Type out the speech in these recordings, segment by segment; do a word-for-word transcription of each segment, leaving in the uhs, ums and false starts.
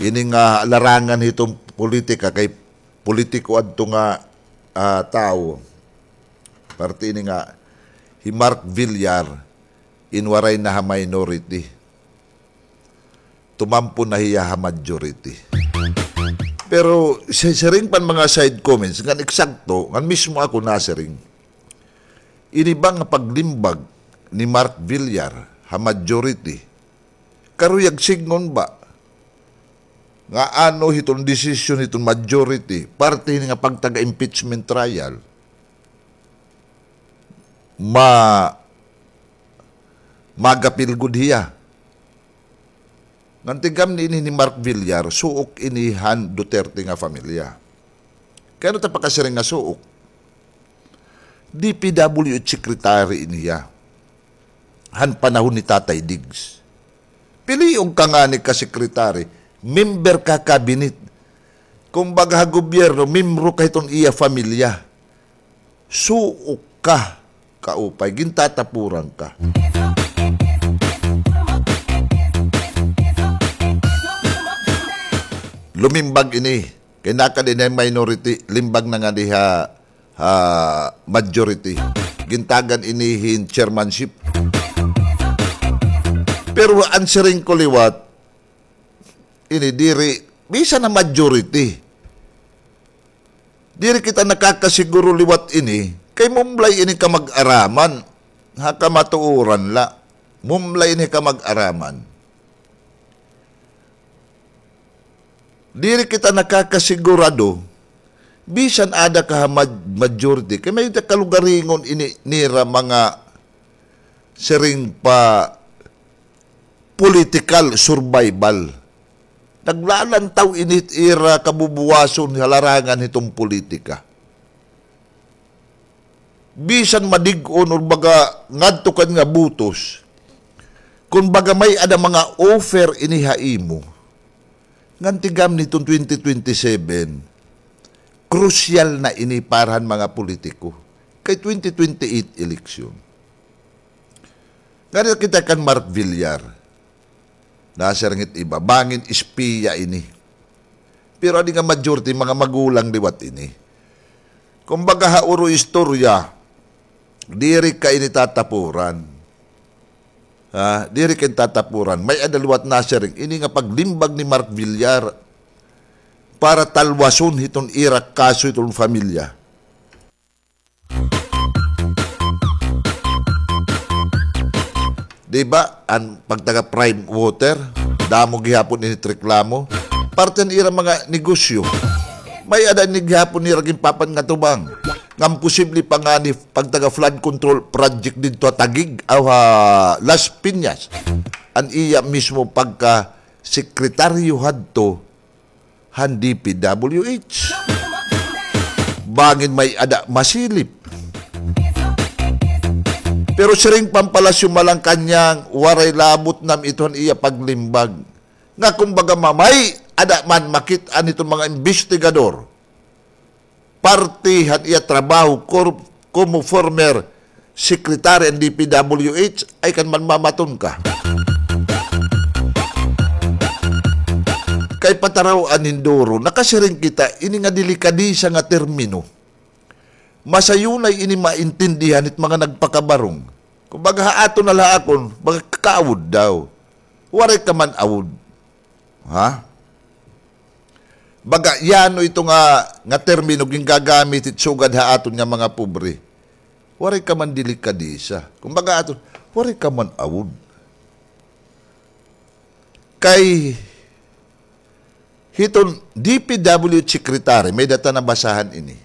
ini nga larangan hiton politika kay politiko adto nga, ah, tawo. Parte ini nga hi Mark Villar, in waray na ha minority. Tumampo na hiya ha majority. Pero si-, siring pa an mga side comments, ngan eksakto, ngan mismo ako nasiring. Ini ba nga paglimbag ni Mark Villar ha majority, karuyag sidngon ba nga ano hiton desisyon hiton majority, parte hini nga pagtaga-impeachment trial, ma-, magapil gud hiya. Ngan tigam ni ini ni Mark Villar, suok ini han Duterte nga pamilya. Kay ano ta pakasiring nga suok? D P W H secretary ini hiya han panahon ni Tatay Diggs. Pilion ka ngani ka secretary, member ka cabinet. Kumbaga ha gobyerno, membro ka hiton iya pamilya. Suok ka, kaupay, gintatapuran ka. Lumimbag ini. Kay nakadi na minority, limbag na ngadi ha, ha majority. Gintagan ini hin chairmanship. Pero an siring ko liwat, ini diri, bisan na majority. Diri kita nakakasiguro liwat ini, kay mumlay ini kamag-araman. Ha kamatuoran la, mumlay ini kamag-araman. Diri kita nakakasigurado, bisan ada ka ha maj-, majority, kay may kalugaringon ini nira mga siring pa political survival. Naglalantaw ini it ira kabubuwason ha larangan hiton politika. Bisan madig-on or baga ngadto ka nga butos, kun baga may-ada mga offer ini ha imo, ngan tigam niton twenty twenty-seven, crucial na ini para han mga politiko. Kay twenty twenty-eight election. Ngada kita kan Mark Villar. Nasiring it iba, bangin espiya ini. Pero adi nga majority, mga magulang liwat ini. Kumbaga, ha uro istorya, diri ka ini tatapuran. Ha, diri ka ini tatapuran. May-ada liwat nasiring, ini nga paglimbag ni Mark Villar para talwason hiton ira kaso hiton pamilya. Di ba, an pagtaga Prime Water, damo gihapon ini reklamo. Parte han ira mga negosyo. May-ada ini gihapon nira ginpapangatubang. Ngan posible pa ngani pagtaga flood control project didto ha Taguig, aw ha Las Piñas. An iya mismo pagka sekretaryo hadto han D P W H. Bangin may-ada masilip. Pero siring pa han Palasyo Malacañang, waray labot nam ito han iya paglimbag. Nga kumbaga mamay-ada man makit-an hiton mga imbestigador. Parte han iya trabaho kor-, komo former secretary han D P W H, ay kan manmamaton ka. Kay pataraw-an hin duro, nakasiring kita, ini nga delikadesa nga termino, masayunay ini maintindihan hit mga nagpakabarong. Kumbaga, ha aton na la akon, baga kaawod daw. Waray ka man awod. Ha? Baga, yano ito nga, nga termino gingagamit hit sugad ha aton nga mga pobre. Waray ka man delikadesa. Kumbaga aton, waray ka man awod. Kay hiton D P W H secretary, may-ada ta nabasahan ini.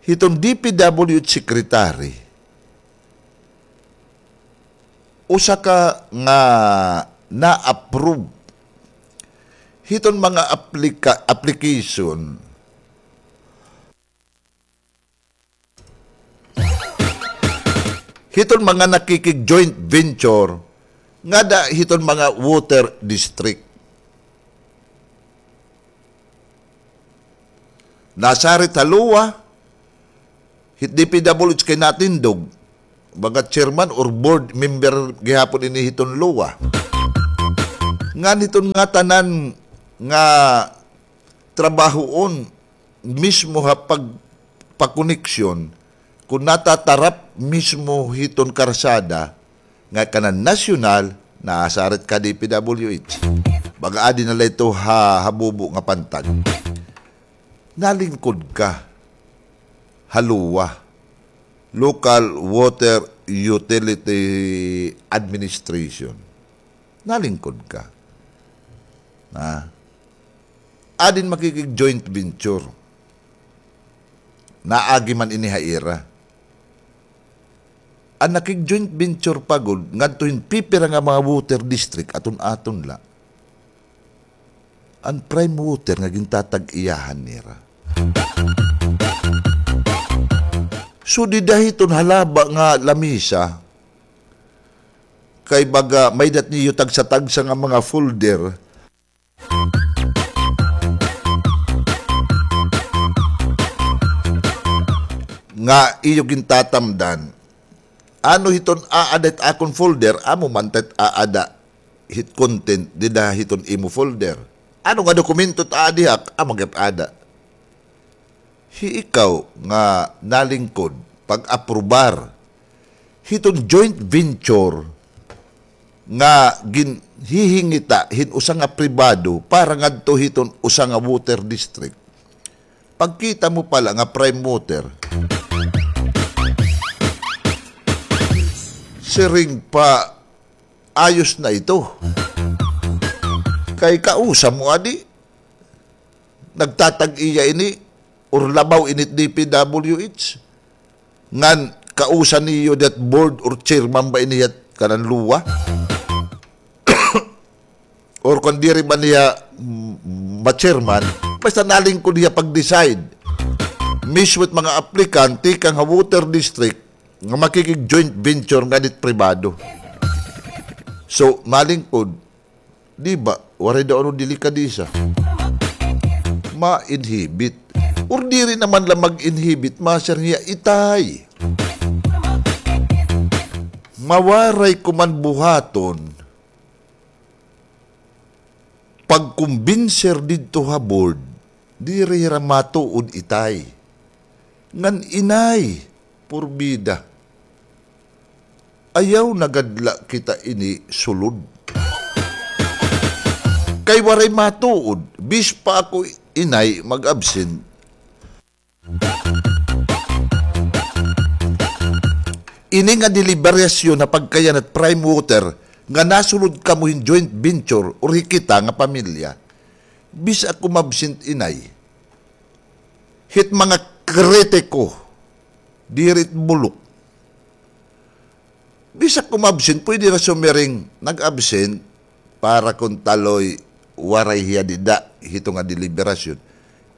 Hiton D P W H secretary, usa ka nga na-approve hiton mga aplika-, application hiton mga nakikig-joint venture ngada hiton mga water district. Nasarit ha LOA, hit D P W H kay natindog, baga chairman or board member gihapon ini hiton LOA. Ngan hiton ngatanan nga trabahoon mismo ha pagpakoneksyon, kon natatarap mismo hiton karsada nga kanan nasyonal, naasarit ka D P W H. Baga adi na la ito ha, habubo nga pantag. Nalingkod ka ha LWUA, Local Water Utility Administration. Nalingkod ka. Ha? Adin makikig-joint venture. Naagi man ini ha ira. An nakig-joint venture pa gud, ngadto hin pipira nga mga water district, aton-aton la. An prime water nga gintatag-iyahan nira. So, dida hiton halaba nga lamisa, kay baga may-ada niyo tagsa-tagsa nga mga folder, nga iyo gintatamdan. Ano hiton aada hit akon folder, amo man it aada hit content dida hiton imo folder. Ano nga dokumento it aada diha, amo gihap ada. Hi ikaw nga nalingkod pag-aprobar hiton joint venture nga ginhihingita hin usa nga pribado para ngadto hiton usa nga water district. Pagkita mo pala nga prime water, siring pa, ayos na ito. Kay kausa mo adi, nagtatag-iya ini, or labaw ini D P W H, ngan kausa niyo that board or chairman ba ini yat kanan LWUA? Or kon diri ba niya, mm, ma-chairman, basta nalingkod hiya pag-decide. Mismo it mga aplikante kang ha water district nga makikig-joint venture ngan it pribado. So, nalingkod, di ba, waray daw ano delikadesa. Ma-inhibit. Or diri naman la mag-inhibit, ma-sir, hiya itay. Mawaray ko man buhaton, pagkumbinser didto ha board, diri hira matuod itay. Ngan inay, purbida. Ayaw na gad la kita ini sulod. Kay waray matuod, bis pa ako inay mag-absent. Ini nga deliberasyon ha pagkayanat prime water nga nasulod kamo hin joint venture or hi kita nga pamilya. Bisan ako mabsent inay. Hit mga kritiko, diri it bulok. Bisan ko ma-absent, pwede na sumiring, nag-absent para kon taloy waray hiya dida hito nga deliberasyon.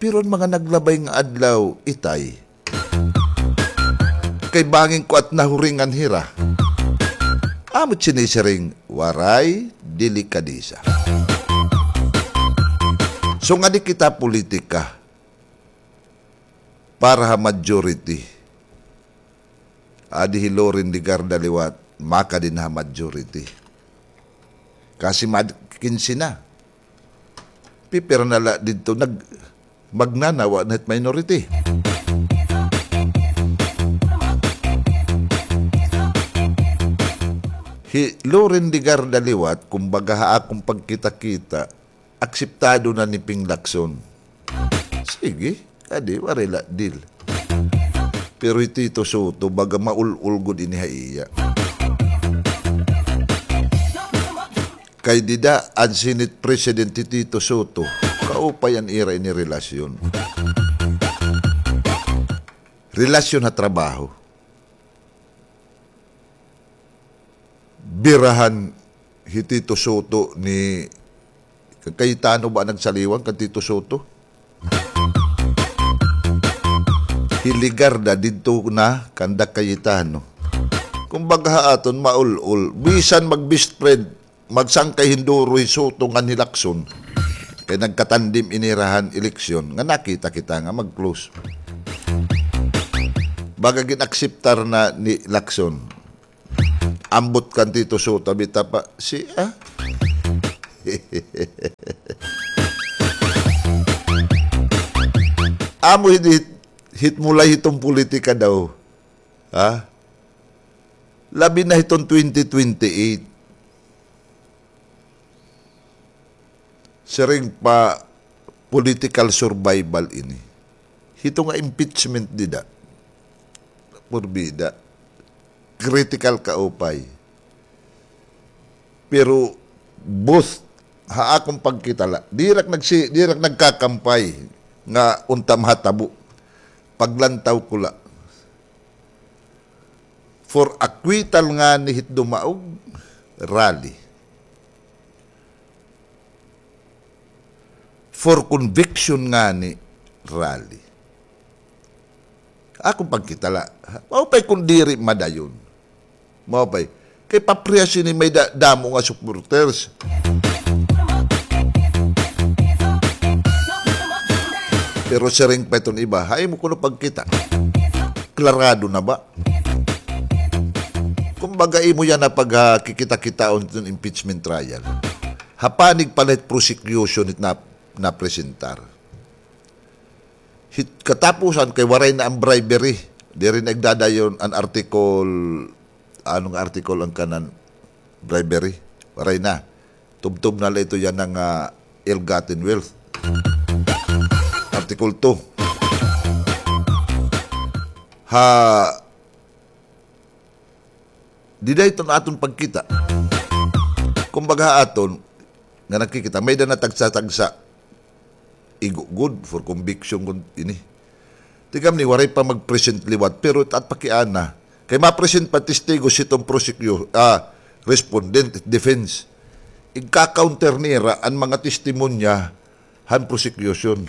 Pero an mga naglabay nga adlaw, itay. Kay bangin ko at nahuringan hira. Amo it sinisiring, waray delikadesa. So, ngadi kita politika para ha majority. Adi hi Loren Legarda liwat, makadi na ha majority. Kasi mad-, kinse na. Pipira na la didto, nag-, magnanawa na hit minority. Hi Loren Legarda liwat, kumbaga ha akon pagkita-kita, akseptado na ni Ping Lacson. Sige, adi, waray la deal. Pero hi Tito Sotto, baga maul-ol gud ini ha iya. Kay dida an Senate President hi Tito Sotto, kaupay an ira ini relasyon. Relasyon ha trabaho. Birahan hi Tito Sotto ni Cayetano ba nagsaliwan kan Tito Sotto? Hi Legarda didto na kanda Cayetano. Kumbaga ha aton maul-ol, bisan mag-best friend, magsangkay hin duro hi Sotto ngan hi Lacson. Kay nagkatandem ini ira han eleksyon nga nakita kita nga mag-close. Baga gin-akseptar na ni Lacson. Ambot kan Tito Sotto, abi ta pa, si, ah? Amo hit, hit, hit mulay hiton politika daw. Ha? Labi na hiton twenty twenty-eight. Siring pa political survival ini. Hito nga impeachment dida. Porbida. Critical kaupay. Pero both, ha akon pagkita la, diri ak nagsi-, diri ak nagkakampay nga unta mahatabo. Paglantaw ko la. For acquittal ngani hit dumaog, rally. For conviction ngani, rally. Akon pagkita la. Maupay kon diri madayon. Maupay. Kay paprehas ini may da-, damo nga supporters. Pero siring pa iton iba, ha imo kuno pagkita. Klarado na ba? Kumbaga, imo yana pagkikita-kitaon iton impeachment trial. Ha panig pa la hit prosecution hit na, napresentar. Hit katapusan kay waray na an bribery. Diri na igdadayon an article, ano nga article an kanan bribery? Waray na. Tubtob na la ito yana nga, ah, ill-gotten wealth. Article two. Ha, dida iton aton pagkita. Kumbaga ha aton, nga nagkikita, may-ada na tagsa-tagsa. Igo gud for conviction kun ini. Tikang ini, waray pa mag-present liwat, pero it at pakiana. Kay ma-present pa testigos hiton prosecu-, ah, respondent, defense. Igka-counter nira an mga testimonya han prosecution.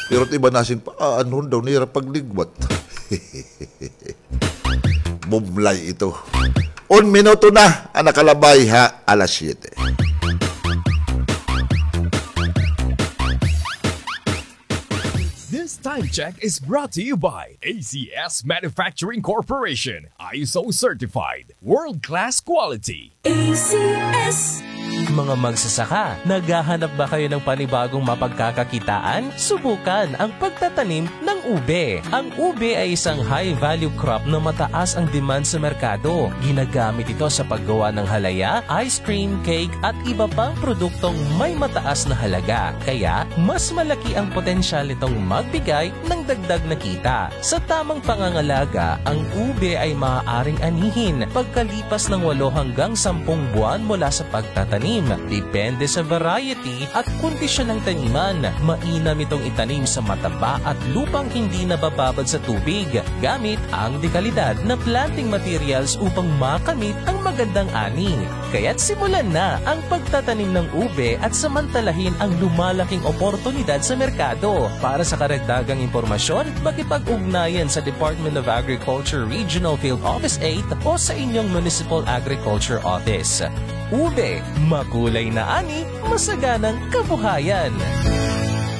Pero it iba nasiring pa, ah, ano daw nira pagliwat. Bumlay ito. Un minuto na an nakalabay ha alas siyete. This time check is brought to you by A C S Manufacturing Corporation, I S O certified, world-class quality. A C S. Mga magsasaka, naghahanap ba kayo ng panibagong mapagkakakitaan? Subukan ang pagtatanim ng ube. Ang ube ay isang high-value crop na mataas ang demand sa merkado. Ginagamit ito sa paggawa ng halaya, ice cream, cake, at iba pang produktong may mataas na halaga. Kaya, mas malaki ang potensyal nitong magbigay ng dagdag na kita. Sa tamang pangangalaga, ang ube ay maaaring anihin pagkalipas ng walo hanggang sampung buwan mula sa pagtatanim. Depende sa variety at kondisyon ng taniman. Mainam itong itanim sa mataba at lupang hindi nabababad sa tubig, gamit ang dekalidad na planting materials upang makamit ang magandang ani. Kaya't simulan na ang pagtatanim ng ube at samantalahin ang lumalaking oportunidad sa merkado. Para sa karagdagang impormasyon, makipag-ugnayan sa Department of Agriculture Regional Field Office eight o sa inyong Municipal Agriculture Office. Ube, makulay na ani, masaganang kabuhayan.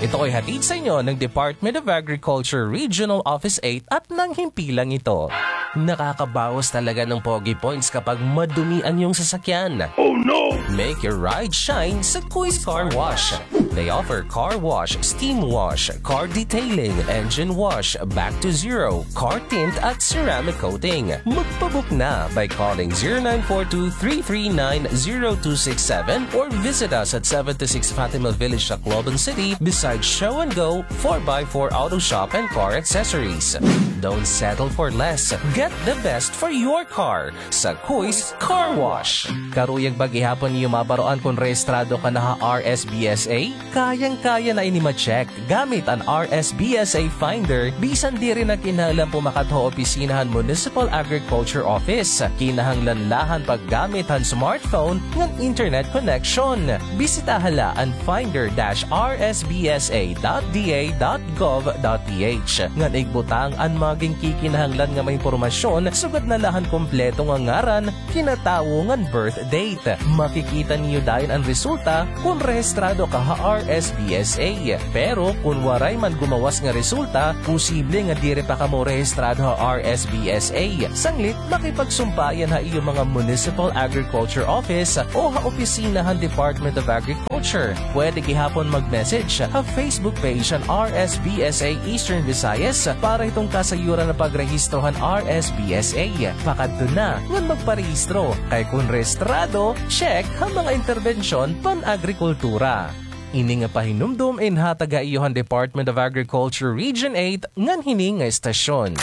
Ito ay hatid sa inyo ng Department of Agriculture Regional Office eight at ng himpilang ito. Nakakabawas talaga ng pogi points kapag madumi ang iyong sasakyan. Oh no! Make your ride shine sa Kuis Car Wash. They offer car wash, steam wash, car detailing, engine wash, back to zero, car tint at ceramic coating. Magpabook na by calling zero nine four two three three nine zero two six seven or visit us at seventy-six Fatima Village, Tacloban City, beside Show and Go four by four Auto Shop and Car Accessories. Don't settle for less. Get the best for your car sa Kuis Car Wash. Karuyag ba gihapon niyo mabaroan kon rehistrado ka na ha R S B S A? Kayang-kaya na ini ma-check gamit an R S B S A Finder, bisan diri na kinahanglan pumakat ha opisina han Municipal Agriculture Office. Kinahanglan la han paggamit han smartphone ngan internet connection. Bisitaha la an finder dash R S B S A dot D A dot gov dot P H ngan igbutang an mga ginkikinahanglan nga mga impormasyon, sugad na la han kompleto nga ngaran, kinatawo ngan birth date. Makikita niyo dayon an resulta kon rehistrado ka ha R S B S A. Pero kon waray man gumawas nga resulta, posible nga diri pa kamo rehistrado ha R S B S A. Sanglit, makipagsumpayan ha iyo mga Municipal Agriculture Office o ha opisina han Department of Agriculture Sure, pwede gihapon mag-message ha Facebook page han R S B S A Eastern Visayas para hiton kasayuran nga pagrehistro han R S B S A. Pakadto na ngan magparehistro, kay kon rehistrado, check ha mga interbensyon pan-agrikultura. Ini nga pahinumdom inhatag ha iyo han Department of Agriculture Region eight ngan hini nga istasyon.